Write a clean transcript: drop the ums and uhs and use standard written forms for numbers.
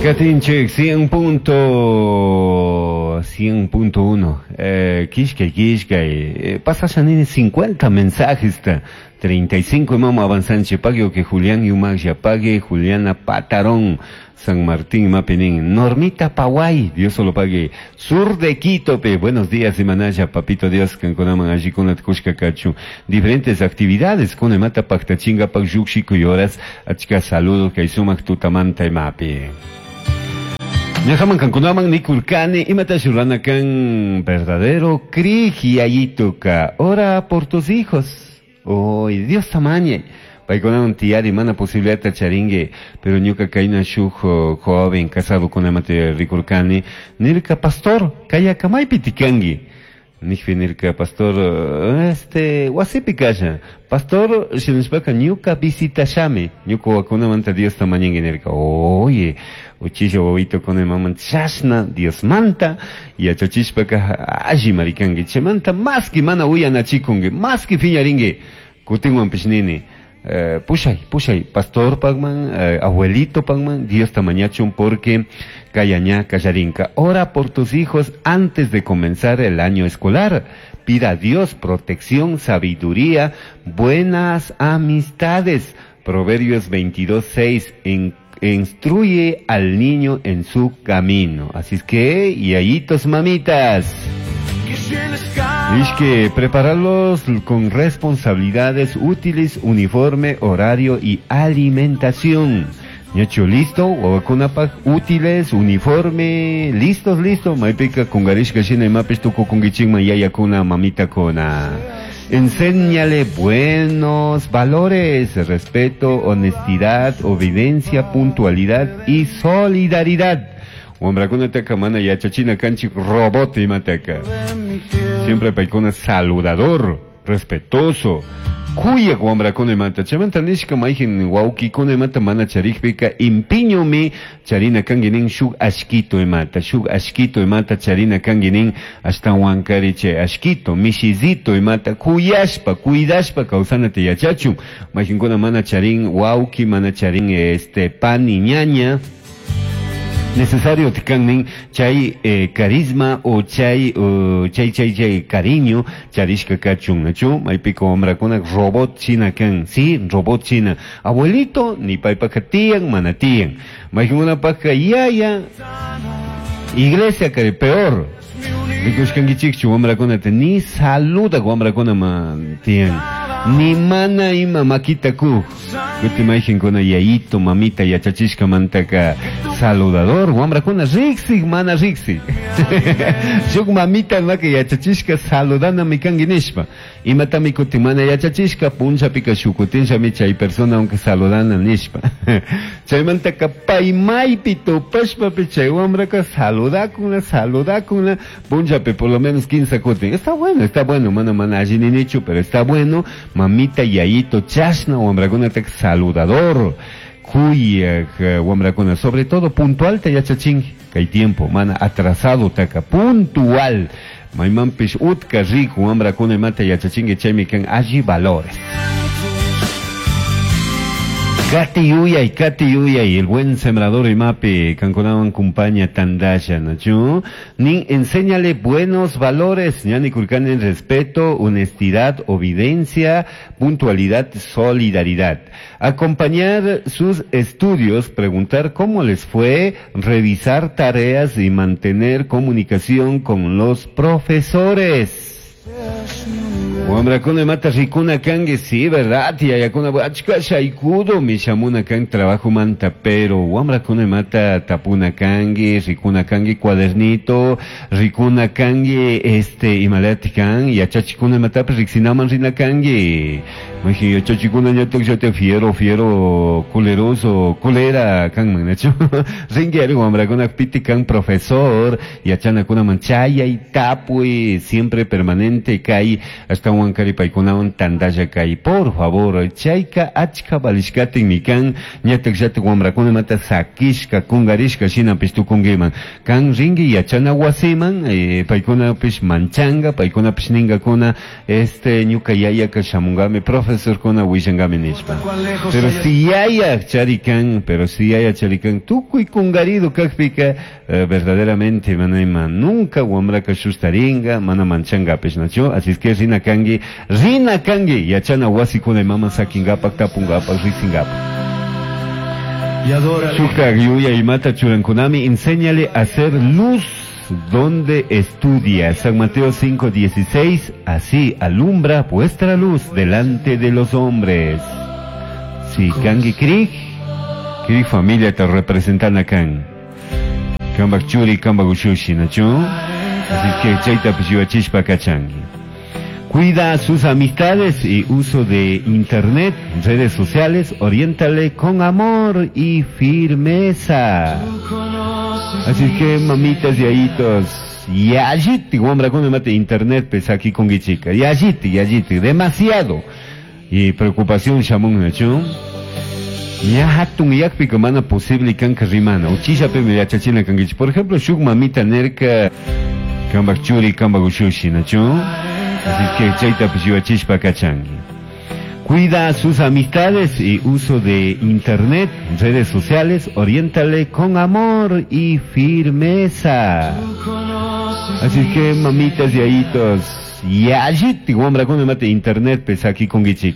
Katinchik 100.100.1 kishkay kishkay pasasha nini 50 mensajes 35 imama avanzanche pague que Julián Yumagya pague Juliana Patarón San Martín Mapinin Normita Paway Dios solo pague sur de Quito pe buenos días Imanaya papito Dios kankunaman allikunata kushka kachun diferentes actividades kuna imata paktachinkapak llukshiku horas achka saludo kay sumak tutamanta imapi. Ñajaman kankunaman nikurkani imata rurana kan verdadero krij yayituka ora por tus hijos. Oh, Dios tamañe. Paykunawan tiyari mana posibilidad charingue, pero ñuka kayna shuk joven casado con amate rikurkani, nirka pastor, kaya kamaypi tikangi. Nijpi nirka pastor, este, wasipi kasha. Pastor, shinashpaka ñuka visitashami, ñuka wakunamanta Dios tamañengue nirka. Oye, uchilla wawito con maman chashna Dios manta, yachachishpaka alli marikangi, chaymanta maski mana uyanachikungi, maski phiñaringi, kutinwanpish nini. Pushay, pushay, pastor pagman, abuelito pagman, Dios tamañachun porque kayaña kallarinka. Ora por tus hijos antes de comenzar el año escolar. Pida a Dios protección, sabiduría, buenas amistades. Proverbios 22:6, instruye al niño en su camino. Así es que, yayitos mamitas. Es que prepararlos con responsabilidades útiles, uniforme, horario y alimentación. Ñacho, listo, wawakunapaj útiles, uniforme, listos, listo. Maypika kungarishka shina imapish tukukunkichikman yayakuna, mamitakuna. Enséñale buenos valores, respeto, honestidad, obediencia, puntualidad y solidaridad. Wambrakunataka mana yachachina kanchik robot imataka. Siempre paykuna saludador, respetuoso. Kuyak wambrakuna imata. Chaymanta nishka mayjin wawkikuna imata mana charikpika impiñomi charina kanki nin shuk ashkito imata. Shuk ashkito imata charina kanki nin ashtawankari chay ashkito, mishizito imata kuyashpa, cuidashpa kawsanata yachachun. Mayjinkuna mana charin wawki, mana charin este pani ñaña. Necesario tikannin chay carisma o chay chay chay cariño charishka kachun nachu maypika wamrakuna robot china kan, sí, robot china abuelito ni paypaka tiyan mana tiyan maykunapaka yaya iglesia kari peor rikushkankichikchu wamrakunata ni saluda wamrakuna ma tiyan ni mana ima makita ku kuti mayjinkuna yayito mamita yachachishka mantaka saludador wamrakuna riksik mana riksik shuk mamita maka yachachishka saludanami kanki nishpa imatami kuti mana yachachishka punchapika shukutinshami chay persona aunque saludana nishpa chaymantaka paymaypi tupashpapi chay wamraka saludakuna saludakuna punchapi por lo menos 15 kutin. Está bueno, mana mana alli ninichu, pero está bueno. Mamita yayito chashna wamrakunataka saludador kuyak wamrakuna, sobre todo puntual te yachachinki kay tiempo mana atrasado taka puntual maymanpish utka riku wamrakuna imata yachachinki chaymi kan alli valores. Kati yuyay, el buen sembrador imapi, kankunawan kumpaña tandasha, nachu. Nin enséñale buenos valores, ñani kulkanen respeto, honestidad, obediencia, puntualidad, solidaridad. Acompañar sus estudios, preguntar cómo les fue, revisar tareas y mantener comunicación con los profesores. Wamrakuna imata rikuna kanki, sí, verdad, yayakuna achka shaykudo mishamuna kan trabajo manta, pero wamrakuna imata tapuna kanki, rikuna kanki cuadernito, rikuna kanki este imalati kan, yachachikuna imatapish riksinaman rina kanki. Maji yachachikuna ñatak llata fiero, fiero, culeroso, culera kanman, nachu. Rinki ari wamrakuna piti kan profesor, yachanakunaman chayay, tapuy, siempre permanente kay, hasta wankari paykunawan tandalla kay, por favor, chayka achka valishkatin mikan, ñatak llata wamrakuna mata sakishka, kungarishka shinapish tukunkiman. Kan rinki yachana wasiman, paykunapish manchanga, paykunapish ningakuna, este ñuka yayaka shamungami, profesor. Profesorkuna willangami nishpa. Pero si yaya charikan, pero si yaya charikan, tukuy kungarido kakpika, verdaderamente mana ima nunca wamraka shustaringa, mana manchangapish, nachu? Así es que rina kangi, rina kangi, yachana wasikuna mama sakingapak, tapungapak, risingapak. Y adórale. Shuktak yuya imata churankunami, enséñale a hacer luz donde estudia. San Mateo 5:16, así alumbra vuestra luz delante de los hombres. Si kangi krik, krik familia te representan akan. Kambak churi, kambak ushushi, nachu? Así que chayta pishibachishpa kachangi. Cuida sus amistades y uso de internet, redes sociales, oriéntale con amor y firmeza. Así que mamitas y ayitos, yalliti, wambra con mate internet pues aquí con guichica, yalliti, yalliti, demasiado. Y preocupación shamun nachu. Ya hatun yakpi mana posible kanka rimana. Uchisha pe me yachachina kangichi. Por ejemplo, shuk mamita nerka kambak churi kambak ushushi nachu. Así que chayta pishibachishpa kachangi. Cuida sus amistades y uso de internet, redes sociales, oriéntale con amor y firmeza. Así que mamitas y ayitos, yalliti, wambra con mate internet pues aquí con guichica.